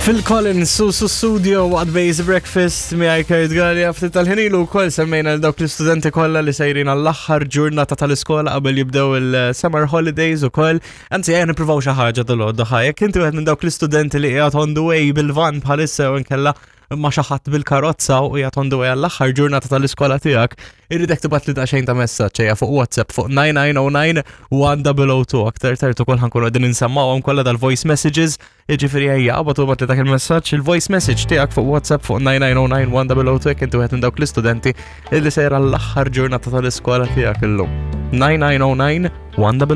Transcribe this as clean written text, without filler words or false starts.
Phil Collins, Susu Studio, waqt Base Breakfast, miegħi Kurt Gallia, ftit tal-ħinilu wkoll semmejna l dawk l-istudenti kollha li sejrin għall-aħħar ġurnata tal-iskola qabel jibdew il-summer holidays ukoll. Anzi, ejja nippruvaw xi ħaġa dal-għodda ħa. Jekk inti wieħed minn dawk l-istudenti li qiegħed on the way bil-van bħalissa u nkella ma xi ħadd bil-karozza u qiegħed on the way għall-aħħar ġurnata tal-iskola tiegħek, irridek tibgħat li daqsxejn ta' messaġġ ejja fuq WhatsApp fuq 9909 1002 aktar tard ukoll ħankunu qegħdin insemmawhom kollha dal-voice messages. Jiġifieri ejja qabad u li dak il-messaġġ, il-voice message tiegħek fuq WhatsApp fuq 9909 jekk inti wieħed minn dawk l-istudenti illi sejra l-aħħar ġurnata tal-iskola tiegħek illum. 9909 1002.